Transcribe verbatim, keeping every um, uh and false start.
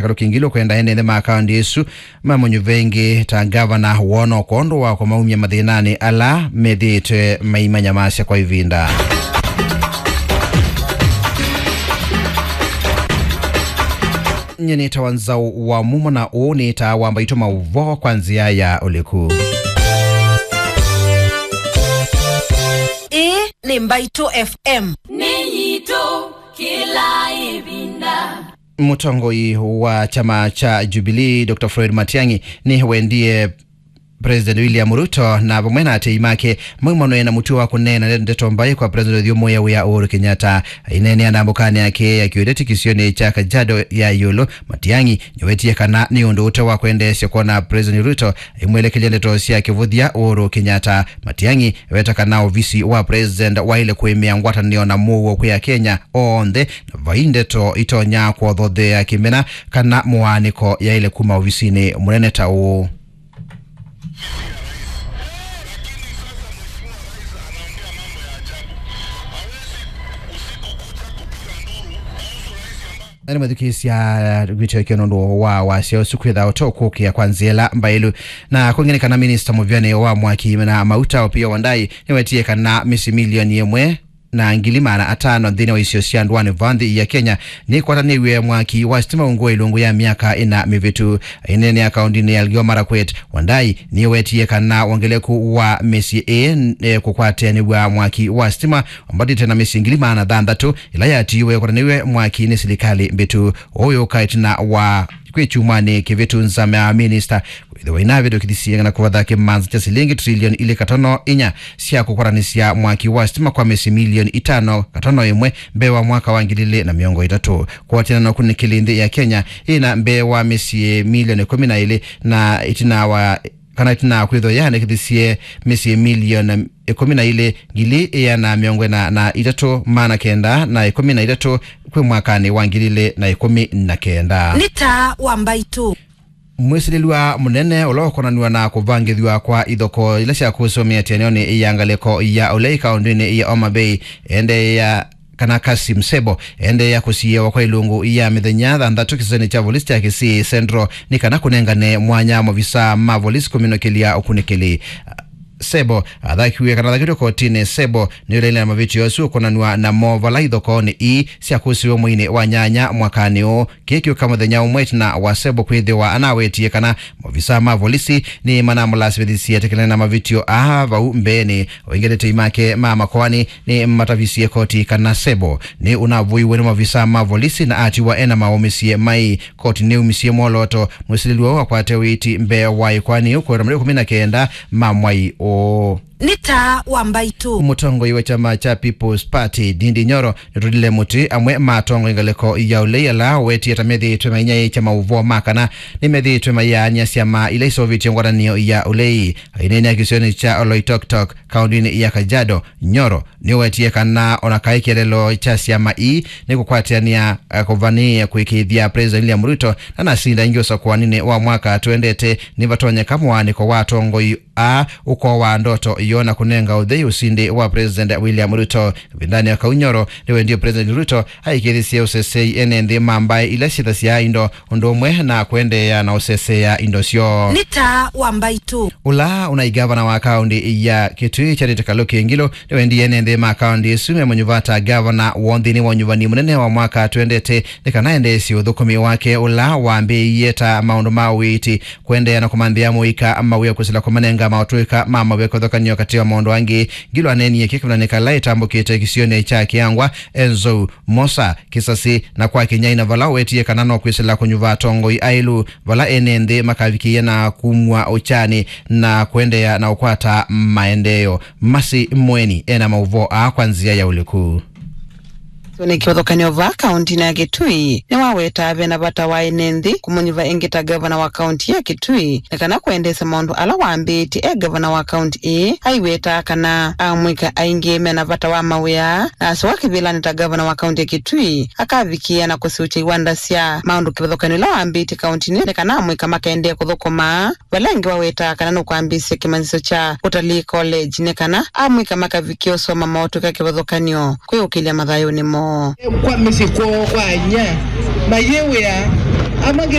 Kalũki Ngilu kwenda ene nthĩ ma kaũntĩ ĩsu mamũnyuve ĩngĩ ta ngavana wona kwondũ wa kũmaumya mathĩnanĩ ala methĩĩtwe maimanyamasya kwa ĩvinda. Nyie nĩtawa Nzau wa Mumo na ũũ nĩtaa wa Mbaitũ maũvoo kwa nzĩa ya ũliku. Ĩĩ nĩ Mbaitũ F M. Nĩ yitũ kĩla ĩvinda. Mũtongoi wa kyama kya Jubilee, Doctor Fred Matiang'i, nĩwendie President William Ruto na vamwe na atei make maumanwe na mũtuo wa kũneena ndeto mbaĩ kwa President ũthyũmũĩa wĩa Uhuru Kenyatta. Aineenea ndambũkanĩ ya kĩĩakĩo ĩtetĩ kĩsionĩ kya Kajiado ya ĩũlũ, Matiang'i nĩwetie kana nĩ ũndũ ũte wa kwendeesya kwona President Ruto aimwelekelya ndeto sya kĩvũthya Uhuru Kenyatta. Matiang'i eweta kana ovisi wa President waĩle kũĩmĩa ngwatanĩo na mũuo kwĩ Akenya onthe, na vai ndeto itonya kũothothea kĩmena kana mũaanĩko yaĩle kuma ovisinĩ mũnene ta ũũ. Na nĩmathukĩĩsya kwĩtĩkĩo nũndũ wa wasya ũsu kwĩtha ũte ũkũkĩa kwa nzĩa ĩla mbaĩlu. Na kũngĩ nĩ kana minista mũvyanĩ wa mwaki na mauta Opiyo Wandayi nĩwetie kana mĩsyĩ milioni ĩmwe na ngili maana atano nthĩnĩ wa isio sya ndũanĩ va nthĩ ya Kenya nĩkwatanĩw'e mwaki wa sitima ungu ilungu ya myaka ĩna mĩvĩtu. Aineenea kaũndĩnĩ ya Elgeyo Marakwet, Wandayi nĩwetie kana wongeleku wa mĩsyĩ ĩĩ, eh, kũkwatanĩw'a mwaki wa sitima wambatĩte na mĩsyĩ ngili maana thanthatũ ĩla yatiiwe kũtanĩw'e mwaki nĩ silikalĩ mbĩtu. Ũyũ ũka ĩtina wa kwĩ kyumwanĩ kĩvĩtu nzama ya minista kwĩthĩwa inavĩtũkĩthisye na kũvatha kĩmanza kya silingi trilioni ilĩ katono inya sya kũkwatanĩsya mwaki wa sitima kwa mĩsyĩ milioni itano katono ĩmwe mbee wa mwaka wa ngili ilĩ na mĩongo ĩtatũ. Kũatĩana na ũkunĩkĩli, nthĩ ya Kenya ĩna mbee wa mĩsyĩ milioni ĩkũmi na ilĩ na ĩtina wa kana ĩtina wa kwĩthwa yaandĩkĩthisye mĩsyĩ milioni ĩkũmi na ilĩ, ngili ĩana mĩongo ĩna na itatũ, maana kenda na ĩkũmi na itatũ kwĩ mwakanĩ wa ngili ilĩ na ĩkũmi na kenda. Nĩ taa wa Mbaitũ. Mwĩsilĩlw'a mũnene ũla ũkonanw'a na kũvangĩthw'a kwa ithoko ila sya kũsũmĩa ĩtianĩonĩ ya ngalĩko ya ũlei kaũndĩnĩ ya Homa Bay endeea kana Kasim Sebo endeea kũsiĩĩwa kwa ilungu ya mĩthenya thanthatũ kĩsionĩ kya volisi kya Kisii Central nĩ kana kũnengane mwanya maovisaa ma volisi kũminũkĩlya ũkunĩkĩli. Sebo athakiwe kana athakĩtwe kotinĩ. Sebo nĩũlaile na mavĩtyo asu ũkonanw'a namo vala ithokoonĩ ii syakũsiwe mweinĩ wa nyanya mwakanĩ ũũ. Kĩĩ kĩũka mũthenya ũmwe ĩtina wa Sebo kwĩthĩwa anawetie kana maovisaa ma volisi nĩmanamũlasĩmĩthisye etĩkĩlane na mavĩtyo aa vau mbeenĩ. Aingĩ atetei make ma makoani nĩmatavisye koti kana Sebo nĩ ũnavũiwe nĩ maovisaa ma volisi na atiwa ena maũmĩsye mai. Koti nĩyumisye mwolooto mwĩsilĩlw'a ũũ akwate ũiiti mbee wa ĩkoani ĩu kũĩta matukũ ĩkũmi na kenda ma mwai ũũ. Nĩ taa wa Mbaitũ. Mũtongoi wa kyama kya People's Party, Ndindi Nyoro, nĩtũlile mũtĩ amwe ma atongoi ngalĩko ya ũlei ala wetie ta methĩĩtwe mainyaĩĩkya maũvoo ma kana nĩmethĩĩtwe maiaany'a syama ila iseũvĩtye ngwatanĩo ya ũlei. Aineenea kĩsionĩ kya Oloitoktok, kaũndĩnĩ ya Kajiado, Nyoro nĩwetie kana ona kaĩ kĩeleelo kya syama ii nĩ kũkwatĩanĩa, eh, kũvanĩĩa kũĩkĩĩthya President William Ruto na nasinda ĩngĩ ũsakũaninĩ wa mwaka twendete, nĩvatonyeka mũaanĩko wa atongoi aa ũkoowaa ndoto yoo na kũnenga ũthei ũsindi wa President William Ruto. Ĩvindanĩ ya kau, Nyoro nĩwendie President Ruto aĩkĩĩthĩsye ũsesei ene nthĩ ma mbaĩ ila syĩthasya indo ũndũ ũmwe na kũendeea na ũseseea indo syoo. Nĩ taa wa Mbaitũ. Ũla ũnaĩ ngavana wa kaũndĩ ya Kitui, Charity Kaluki Ngilu, nĩwendie ene nthĩ ma kaũndĩ ĩsu memũnyuva ta ngavana woo nthĩnĩ wa ũnyuvani mũnene wa mwaka twendete nĩ kana endeesye ũthũkũmi wake ũla wambĩĩie ta maũndũ ma ũiiti, kũendeea na kũmanthĩa mũika mawĩa kwĩsĩla kũmanenga maũtũĩka ma mawĩa kĩvathũkany'o katĩ wa maũndũ angĩ. Ngilu aneenie kĩĩ kĩvathũkany'o kala ĩtambũkĩte kĩsionĩ kya Kĩangwa, Enzou, Mosa, Kisasi na kwa Kinyai, na vala ũwetie kana no kwĩsĩla kũnyuva atongoi aĩlu vala ene nthĩ makavikĩĩa na kumw'a ũkyanĩ na kũendeea na ũkwata maendeeo. Masi Mweni ena maũvoo aa kwa nzĩa ya ũliku. Nĩ kĩvathũkany'o vaa kaũndĩnĩ ya Kitui nĩwawetaa vena vata wa ene nthĩ kũmũnyuva ĩngĩ ta ngavana wa kaũntĩ ya Kitui nĩ kana kũendeesya maũndũ ala wambĩĩtye e ngavana wa kaũntĩ ĩĩ. Aiwetaa kana amũika aingĩ mena vata wa mawĩa na aseũva kĩvĩlanĩ ta ngavana wa kaũntĩ ya Kitui akavikĩĩa na kũsĩũkya iwanda sya maũndũ kĩvathũkany'o ila wambĩĩtye kaũntĩnĩ nĩ kana amũika makaendee kũthũkũma. Vala ĩngĩ wawetaa kana nũkwambĩĩsya kĩmanyĩsyo kya Utalii College nĩ kana amũika makavikĩa ũsoma maũtũĩka kĩvathũkany'o kwĩũkĩlya mathayũnĩ moo. Kwa mĩsyĩ kwoo kwa inyia mayĩwĩa Amwe